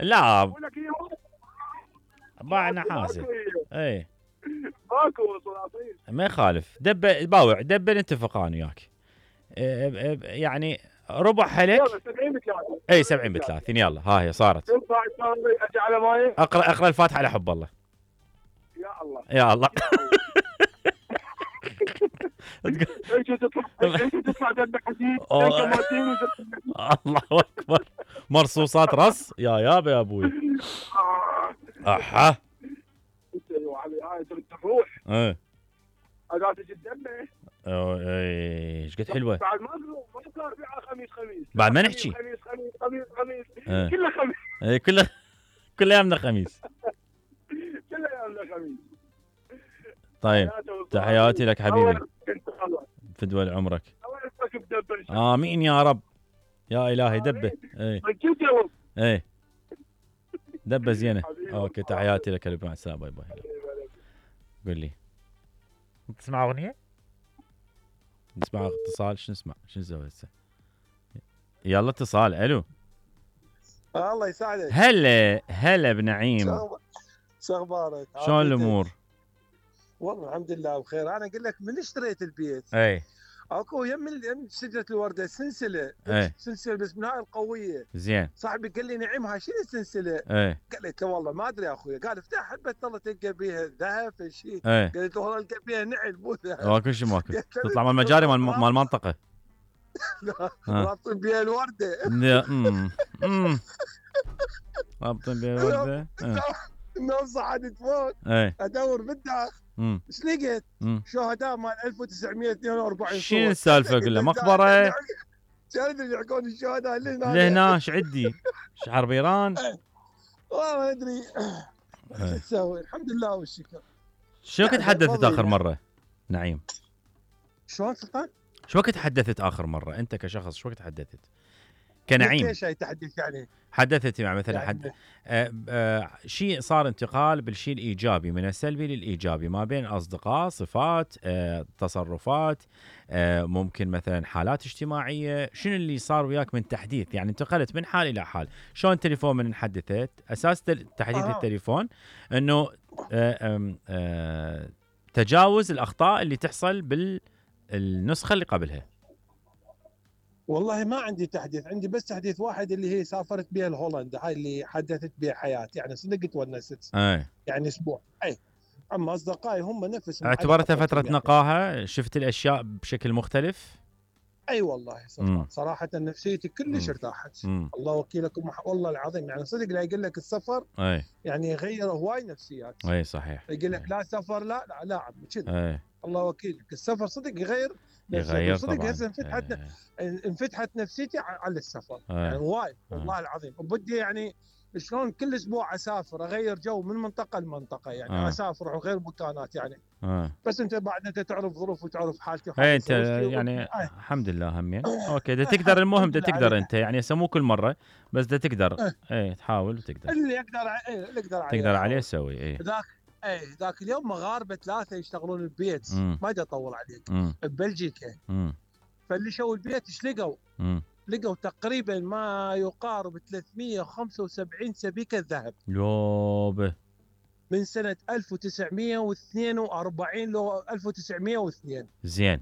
لا باع نحاسي. اي ماكو سلاطين ما يخالف. دب باوع دبل نتفق انا وياك. يعني ربع حلك. يلا 70 ب30. اي 70 ب30 يلا ها هي صارت. تنفع اجي على ماي. اقرا الفاتحه على حب الله. يا الله يا الله. ايش تطلع دم حديد. الله اكبر. مرصوصات رص يا ابوي. احا هاي تروح. ايه اداه تجي الدمه. ايش قد حلوه. بعد ما صار بيعها خميس. بعد ما نحكي خميس كله خميس. ايه كل ايامنا خميس. كل ايامنا خميس. طيب تحياتي لك حبيبي. فدوى عمرك. امين يا رب. يا الهي دبه. ايه دبه زينه. اوكي تحياتي لك مع السلامه. باي باي. قول لي تسمع اغنيه؟ نسمع اتصال. شو نسمع؟ شو نسوي هسه؟ يلا اتصال. الو. الله يساعدك. هلا بنعيم. شو اخبارك؟ شلون الامور؟ والله الحمد لله بخير. انا اقول لك من اشتريت البيت اي اكو يم شجره الورده سلسله. سلسله بس من هاي القويه. زين. صاحبي قال لي نعيم هاي شنو السلسله؟ قلت له والله ما ادري يا اخوي. قال افتح حبه والله تلقى بيها ذهب شيء. قلت له والله القى بيها نعل مو ذهب. كل شيء ماكو. تطلع من المجاري مال المنطقه. رابطين بيها الورده. رابطين بيها الورده. النوم صعدت فوق ادور بالداخل. ايش لقيت؟ شهداء مال 1942. شنو السالفه؟ اقول له مقبره. شنو اللي يحكون الشهداء لهنا ايش عندي؟ حرب ايران؟ والله ما ادري شو تسوي. الحمد لله والشكر. شو وقت تحدثت اخر مره نعيم؟ شلون سلطان؟ شو وقت تحدثت اخر مره انت كشخص؟ شو وقت تحدثت كنعيم؟ ايش تحدث يعني؟ حدثت يعني مثلا شيء صار انتقال بالشيء الايجابي من السلبي للايجابي ما بين اصدقاء، صفات، تصرفات، ممكن مثلا حالات اجتماعيه. شنو اللي صار وياك من تحديث؟ يعني انتقلت من حال الى حال. شلون التليفون من حدثت؟ اساس تحديث التليفون انه تجاوز الاخطاء اللي تحصل بالنسخه اللي قبلها. والله ما عندي تحديث. عندي بس تحديث واحد اللي هي سافرت بها لهولندا. هاي اللي حدثت بها حياتي. يعني صدق تونست. يعني اسبوع. اما اصدقائي هم نفسهم. اعتبرتها فتره نقاهه. شفت الاشياء بشكل مختلف. والله صراحه نفسيتي كلش ارتاحت. الله وكيلكم والله العظيم. يعني صدق لا يقول لك السفر يعني يغير هواي نفسيات. صحيح. يقول لك لا سفر لا عم كذا. الله وكيلك السفر صدق يغير صدق. هسه انفتحت نفسيتي على السفر. يعني وايد والله العظيم. وبدي يعني شلون كل اسبوع اسافر اغير جو من منطقه لمنطقه. يعني اسافر وغير مكانات يعني. بس انت بعد انت تعرف ظروف وتعرف حالتي. انت يعني الحمد لله همين. اوكي ده تقدر. المهم ده تقدر انت يعني مو كل مره بس ده تقدر. تحاول وتقدر. اللي يقدر عليه سوي. ذاك اليوم مغاربه 3 يشتغلون البيت. ما ادري اطول عليك. ببلجيكا. فاللي شو البيت ايش لقوا؟ لقوا تقريبا ما يقارب 375 سبيكه ذهب. يوبه. من سنه 1942 لو 1902. زين.